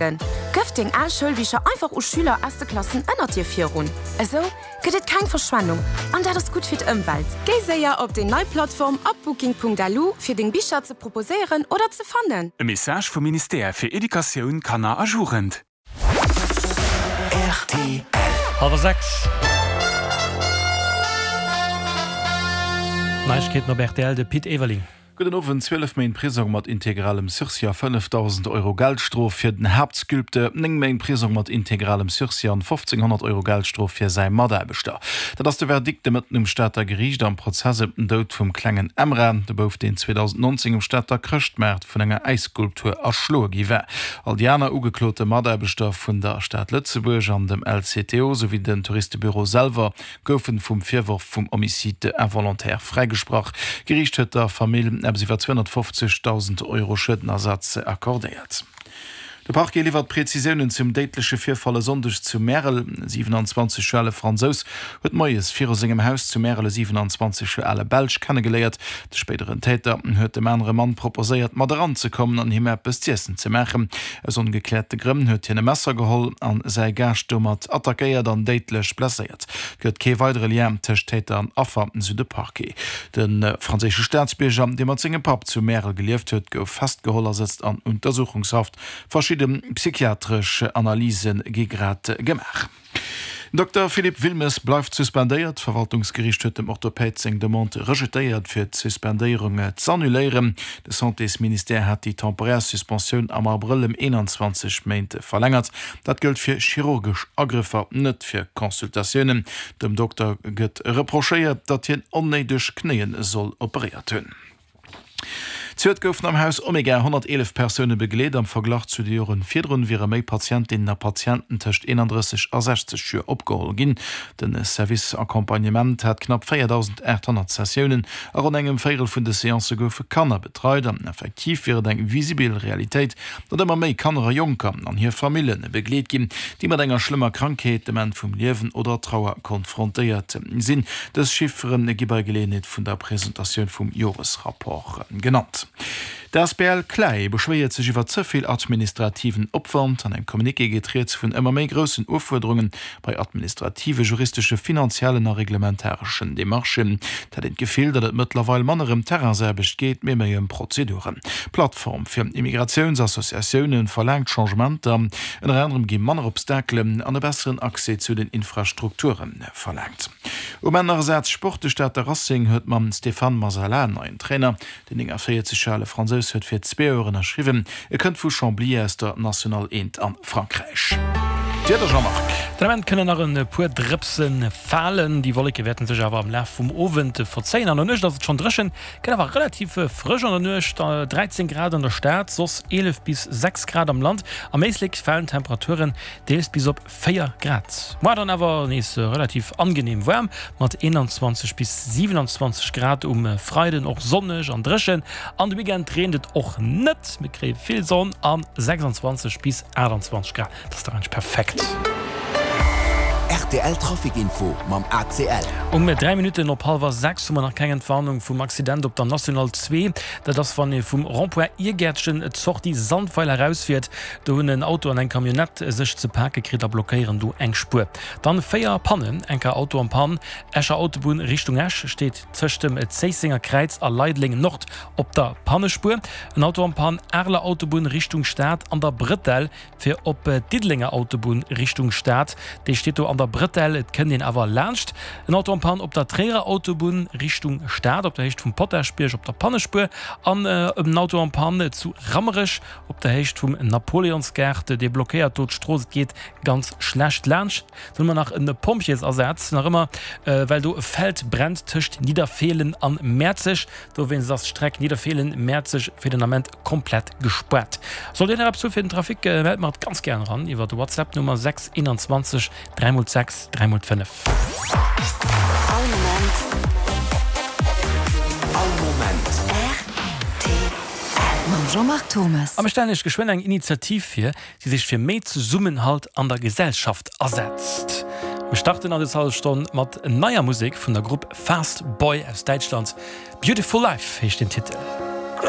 Gëff deng al Schoulbicher einfach u Schüler aus de Klassen ënnert dir virun. Esou gëtt et keng Verschwendung an dat ass gutt fir d'Ëmwelt. Géi séier op déi nei Plattform upbooking.lu fir deng Bicher ze proposéieren oder ze fannen. E Message vum Ministère fir Educatioun, Kanner a Jugend. Rtl. Hallwer 6. Neiegkeeten op rtl, de Pit Everling. Gudden Owend. 12 Méint Prisong mat integralem Sursis a 5.000 Euro Geldstrof fir den Haaptsculpteur, 9 Méint Prisong mat integralem Sursis an 1.500 Euro Geldstrof fir säi Mataarbechter. Dat ass de Verdikt de Mëtten um Stater Geriicht am Prozess ëm den Doud vum klengen Emra, de Bouf deen 2019 um Stater Chrëschtmaart vun enger Äisskulptur erschloe gi war. All déi aner ugeklote Mataarbechter vun der Stad Lëtzebuerg an dem LCTO souwéi den Touristebüro selwer goufen vum Virworf vum Homicide involontaire fräigesprach. D'Geriicht huet der Famill eppes iwwer 250.000 Euro Schuedenersatz accordéiert. De Parquet liwwert Prezisiounen zum déidleche Virfall e Sonndeg zu Märel. E 27 Joer ale Fransous huet moies viru sengem Haus zu Märel e 27 Joer ale Belsch kennegeléiert. De spéideren Täter huet dem anere Mann proposéiert, mat eranzekommen an him eppes z'iessen ze maachen. Aus ongekläerte Grënn huet hien e Messer geholl an säi Gaascht domat attackéiert an déidlech blesséiert. Et gëtt kee weidere Lien tëscht Täter an Affer, sou de Parquet. De franséische Staatsbierger, dee mat sengem Papp zu Märel gelieft huet, gouf festgeholl a sëtzt an Untersuchungshaft. Verschidde psychiatresch Analyse gi grad gemaach. Den Dokter Philippe Wilmes bleift suspendéiert. D'Verwaltungsgeriicht huet dem Orthopäd seng Demande rejetéiert, fir d'Suspendéierung z'annuléieren. De Santésministère hat déi temporär Suspensioun am Abrëll ëm 21 Méint verlängert. Dat gëllt fir chirurgesch Agrëffer, net fir Consultatiounen. Dem Dokter gëtt reprochéiert, datt hien onnéideg Knéie soll operéiert hunn. Zejoert goufen am Haus Omega 111 Persoune begleet. Am Verglach zu de Jore virdrun wiere méi Patientinnen a Patienten tëscht 31 a 60 Joer opgeholl ginn. De Service Accompagnement hat knapp 4.800 Sessiounen. A ronn engem Véierel vun de Seancë goufe Kanner betreit. An effektiv wier et eng visibel Realitéit, datt ëmmer méi Kanner a Jonker an hir Famille begleet ginn, déi mat enger schlëmmer Krankheet, dem Enn vum Liewen oder Trauer konfrontéiert sinn. Dës Chiffere gi bei Geleeënheet vun der Presentatioun vum Joresrapport genannt. D'asbl CLAE beschwéiert sech iwwer ze vill administrativen Opwand. An engem Communiqué geet rieds vun ëmmer méi groussen Ufuerderunge bei administrative, juristesche, finanziellen a reglementareschen Demarchen. Et hätt een d'Gefill, datt et mëttlerweil manner ëm Terrainsaarbecht geet, mee méi ëm Prozeduren. D'Plattform fir Immigratiounsassociatioune verlaangt Changementer. Ënner anerem gi manner Obstakelen an e besseren Accès zu den Infrastrukture verlaangt. Um Enn nach e Saz Sport, De Stater Racing huet mam Stéphane Masala en neien Trainer. Den 49 Joer ale Fransous huet fir zwee Joer ënnerschriwwen. E kënnt vu Chambly aus der National 1 a Frankräich. D'Wieder, Jean-Marc. Den Ament kënnen nach e puer Drëpse falen, déi Wolleke wäerte sech awer am Laf vum Owend verzéien. An der Nuecht ass et schonn dréchen, gëtt awer relativ frësch an der Nuecht, 13 Grad an der Stad, soss 11 bis 6 Grad am Land. Am Éislek falen d'Temperaturen deels bis op 4 Grad. Moar dann awer nees relativ angenehm waarm mat 21 bis 27 Grad. Um Freiden och sonneg an dréchen an de Weekend reent et och net. Mir kréie vill Sonn a 26 bis 28 Grad, dat ass dach eigentlech perfekt. Rtl Trafic Info mam ACL. Um 3 Minutten op hallwer 6 hu mer nach keng Entwarnung vum Accident op der National 2. Dat ass wann ee vum Rond-point Irgäertchen d'Sortie Sandweiler erausfiert. Do hunn en Auto an eng Camionnette sech ze pake kritt a blockéieren do eng Spuer. Dann 4 Pannen, enker Auto am Pann, Escher Autobunn Richtung Esch steet tëscht dem Zéissenger Kräiz a Leideleng Nord op der Pannespuer. En Auto am Pann, Areler Autobunn Richtung Stad an der Brëtell fir op d'Diddelenger Autobunn Richtung Stad, dee steet do an der Brëtell, et kënnt een awer laanscht. En Auto am Pann op der Tréierer Autobunn Richtung Stad op der Héicht vum Potaschbierg op der Pannespuer an en Auto am Pann zu Rammerech Op der Héicht vum Napoleonsgaart, dee blockéiert do d'Strooss, et geet ganz schlecht laanscht. Dann hu mer nach e Pompjeesasaz, nach ëmmer, well do e Feld brennt tëscht Nidderfeelen an Mäerzeg. Dowéinst ass d'Streck Nidderfeelen-Mäerzeg fir den Ament komplett gespaart. Sollt Dir nach eppes hu fir den Trafic, mellt mer et ganz gären eran iwwer d'Whatsapp Nummer 6 21 3 x 6 3 x 5. All Moment. All Moment. Rtl. Mam Jean-Marc Thommes. A mir stellen Iech geschwënn eng Initiativ vir, déi sech fir méi Zesummenhalt an der Gesellschaft asetzt. Mir starten an des hallef Stonn mat neier Musek vun der Grupp Fast Boy aus Däitschland. Beautiful Life heescht den Titel.